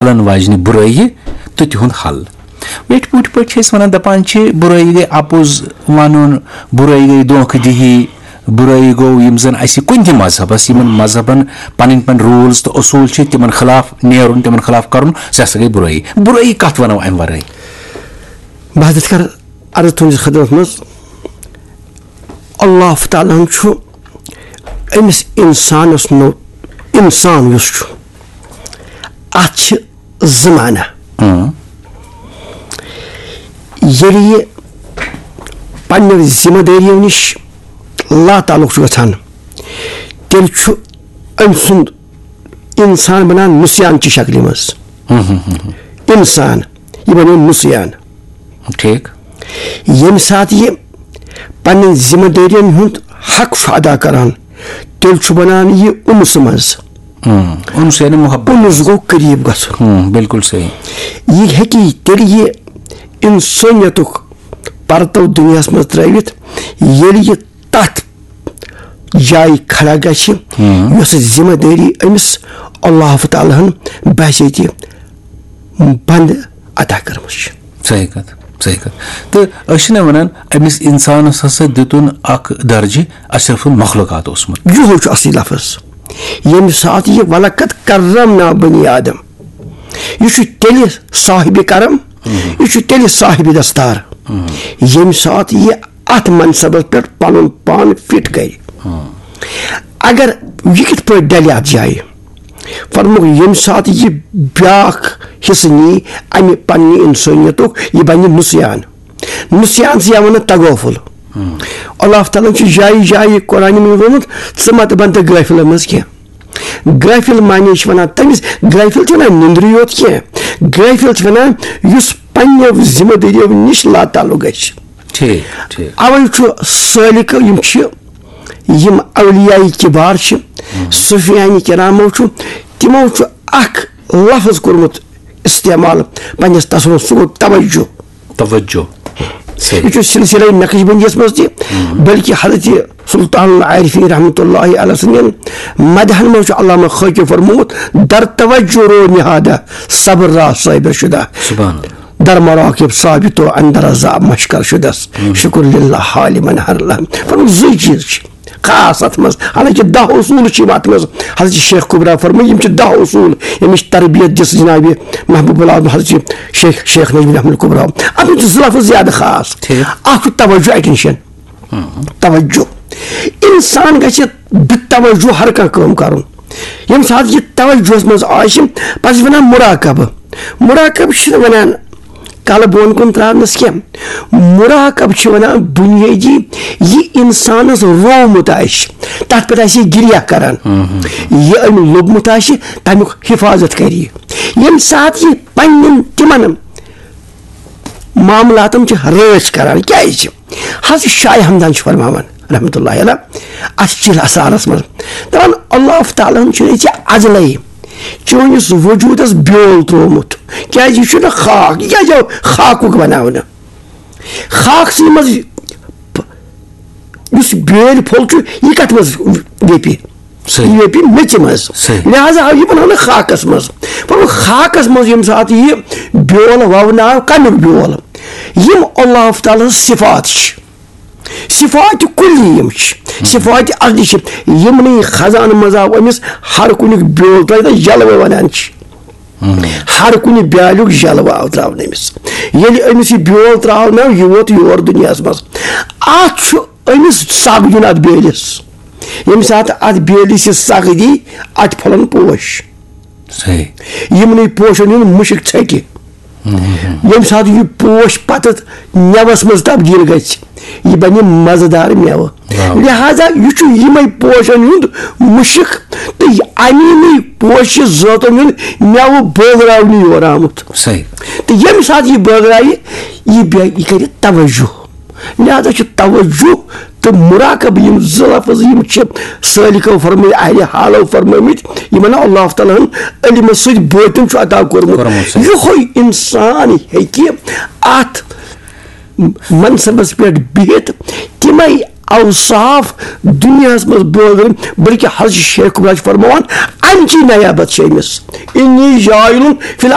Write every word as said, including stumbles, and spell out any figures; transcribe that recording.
چلن واجنہِ برٲیی تہٕ تِہُنٛد حل۔ ویٹھۍ پوٗٹھۍ پٲٹھۍ چھِ أسۍ ونان، دپان چھِ، برٲیی گٔے اپُز ونُن، برٲیی گٔے دھوکہٕ دِہی، برٲیی گوٚو یِم زن اسہِ کُنہِ تہِ مذہبس، یِمن مذہبن پنٕنۍ پنٕنۍ rules تہٕ اصوٗل چھِ، تِمن خلاف نیرُن، تِمن خلاف کرُن، سُہ ہسا گٔے برٲیی۔ برٲیی کتھ ونو امہِ ورٲے؟ بہٕ حضرت کرٕ عرض تُہنٛدِس خدمتس منٛز، اللہ تعالیٰ ہن چھُ أمِس انسانس نو-، انسان یُس چھُ، اتھ چھِ زٕ معنی۔ ییٚلہِ یہِ پننیو ذمہٕ دٲریو نِش لاتعلق چھُ گژھان، تیٚلہِ چھُ أمۍ سُنٛد انسان بنان نسیان چہِ شکلہِ منٛز۔ انسان، یہِ بنیو نسیان۔ ٹھیک۔ ییٚمہِ ساتہٕ یہِ پننٮ۪ن ذمہٕ دٲرین ہُنٛد حق چھُ ادا کران، تیٚلہِ چھُ بنان یہِ انس منٛز۔ انس یعنی محبت۔ انس گوٚو قریب گژھُن۔ ہم، بالکل صحیح۔ یہِ ہیٚکہِ تیٚلہِ یہِ انسٲنیتُک پرتو دُنیاہس منٛز ترٲوِتھ، ییٚلہِ یہِ تتھ جایہِ کھڑا گژھِ، یۄس ذمہٕ دٲری أمِس اللہ تعالیٰ ہن بحیثیت بندٕ عطا کٔرمٕژ چھِ۔ صحیح کتھ، صحیح کتھ۔ تہٕ أسۍ چھِنہ ونان، أمِس انسانس ہسا دِتُن اکھ درجہِ اشرف المخلوقات اوسمُت۔ یِہوے چھُ اصلی لفظ۔ ییٚمہِ ساتہٕ یہِ "ولقد کرمنا بنی آدم"، یہِ چھُ تیٚلہِ صاحبِ کرم، یہِ چھُ تیٚلہِ صاحبِ دستار، ییٚمہِ ساتہٕ یہِ اتھ منصبس پٮ۪ٹھ پنُن پان فٹ کرِ۔ اگر یہِ کِتھ پٲٹھۍ ڈلہِ اتھ جایہِ؟ فرمووُکھ، ییٚمہِ ساتہٕ یہِ بیاکھ حصہٕ نی امہِ پننہِ انسٲنیتُک، یہِ بنہِ نسیان۔ نسیان چھِ یِوان تغافل۔ اللہ تعالیٰ ہن چھُ جایہِ جایہِ قرآنہِ منٛز ووٚنمُت، "ژٕ مت بن تہٕ غٲفلن منٛز کینٛہہ۔" غٲفل معنی چھِ ونان تٔمِس، غٲفل چھُ ونان نندرِ یوت کینٛہہ، غٲفل چھِ ونان یُس پننیو ذمہٕ دٲریو نِش لاتعلق گژھِ۔ ٹھیک، ٹھیک۔ اوے چھُ سٲلِکو، یِم چھِ، یِم اولیاء کبار چھِ، صوفیان کرامو چھُ، تِمو چھُ اکھ لفظ کوٚرمُت استعمال پننِس تصوفس، سُہ گوٚو توجہ۔ توجہ۔ صحیح۔ یہِ چھُ سلسلہ نقشبندیس منٛز تہِ، بلکہ حضرت سلطان العارفین رحمۃ اللہ علیہ سٕنٛدٮ۪ن مدحن منٛز چھُ علامہ خٲکی فرمومُت، "در توجہ رو نہادہ صبر را صابر شدہ۔" سبحان اللہ۔ در مراقب ثابت و اندر عذاب مشکر شدس، شکر للہ حال من ہر لحظہ۔ فرمومُت، زٕے چیٖز چھِ خاص اتھ منٛز، حالانکہ دَہ اصوٗل چھِ یِم اتھ منٛز۔ حضرت شیخ کبرا فرمٲے، یِم چھِ دَہ اصوٗل، ییٚمِچ تربیت دِژ جناب محبوب اللہ حضرت شیخ، شیخ نجم الحمد کبرا۔ اتھ منٛز چھِ زٕ لفظ زیادٕ خاص۔ ٹھیک۔ اکھ چھُ توجہ، attention۔ توجہ۔ انسان گژھِ بے توجہ ہر کانٛہہ کٲم کرُن۔ ییٚمہِ ساتہٕ یہِ توجہس منٛز آسہِ، پتہٕ چھِ ونان مراقبہٕ۔ مراقبہٕ چھِنہٕ ونان کلہٕ بۄن کُن تراونس کینٛہہ۔ مراقبہٕ چھِ ونان بنیٲدی، یہِ انسانس روومُت آسہِ، تتھ پٮ۪ٹھ آسہِ یہِ گریہ کران۔ یہِ أمۍ لوٚبمُت آسہِ، تمیُک حفاظت کرِ یہِ۔ ییٚمہِ ساتہٕ یہِ پننٮ۪ن تِمن معاملاتن چھِ رٲچھ کران، کیازِ؟ حضرت شاہ ہمدان چھُ فرماوان رحمتہ اللہ علیہ، اتھ چِل اسرارس منٛز، دپان، اللہ تعالیٰ ہن چھُ ژےٚ ازلے چٲنِس وجودس بیول تروومُت۔ کیازِ؟ یہِ چھُنہٕ خاک، یہِ کیازِ آو خاکُک بناونہٕ؟ خاکسٕے منٛز یُس بیٲلۍ پھوٚل چھُ، یہِ کتھ منٛز ویپہِ؟ صحیح۔ یہِ ویپہِ میٚژِ منٛز۔ صحیح۔ لہذا آو یہِ بناونہٕ خاکس منٛز۔ پتہٕ خاکس منٛز ییٚمہِ ساتہٕ یہِ بیول وونہٕ آو، کمیُک بیول؟ یِم اللہ تعالیٰ ہٕنٛز صفات چھِ، صفات کلی یِم چھِ، صفات عقلی چھِ، یِمنٕے خزانہٕ منٛز آو أمِس ہر کُنیُک بیول ترٛٲوِتھ، یَلہٕ وَے وَنان چھِ۔ ہر کُنہِ بیالیُک یَلہٕ آو ترٛاونہٕ أمِس۔ ییٚلہِ أمِس یہِ بیول ترٛاونہٕ آو، یہِ ووت یور دُنیاہَس منٛز۔ اَتھ چھُ أمِس سَگ دیُن اَتھ بیٲلِس۔ ییٚمہِ ساتہٕ اَتھ بیٲلِس یہِ سَگ دی، اَتہِ پھۄلَن پوش۔ صحیح۔ یِمنٕے پوشَن ہُنٛد مُشُک ژھیٚٹہِ۔ ییٚمہِ ساتہٕ یہِ پوش پتہٕ مٮ۪وَس منٛز تبدیٖل گژھِ، یہِ بنہِ مزٕدار مٮ۪وٕ۔ واہ۔ لہذا یہِ چھُ یِمے پوشن ہُنٛد مُشُک تہٕ یہِ اَمی نٕے پوشہِ زٲژن ہُنٛد مٮ۪وٕ بٲگراونہٕ یور آمُت۔ صحیح۔ تہٕ ییٚمہِ ساتہٕ یہِ بٲگرایہِ، یہِ بے-، یہِ کرِ توجہ۔ لہذا چھُ توجہ تہٕ مراقبہٕ، یِم زٕ لفظ یِم چھِ سٲلِکو فرمٲے، اہلِ حالو فرمٲمٕتۍ، یِمن اللہ تعالیٰ ہن علمہٕ سۭتۍ بٲطن چھُ عطا کوٚرمُت۔ کوٚرمُت، صحیح۔ یِہوٚے انسان ہیٚکہِ اتھ منصبس پٮ۪ٹھ بِہِتھ تِمے اوصاف دُنیاہَس منٛز بٲگرٲوۍ، بلکہِ حضرت شیخ کبرا چھِ فرماوان، اَمچی نیابت چھِ أمِس، انی جاعل فی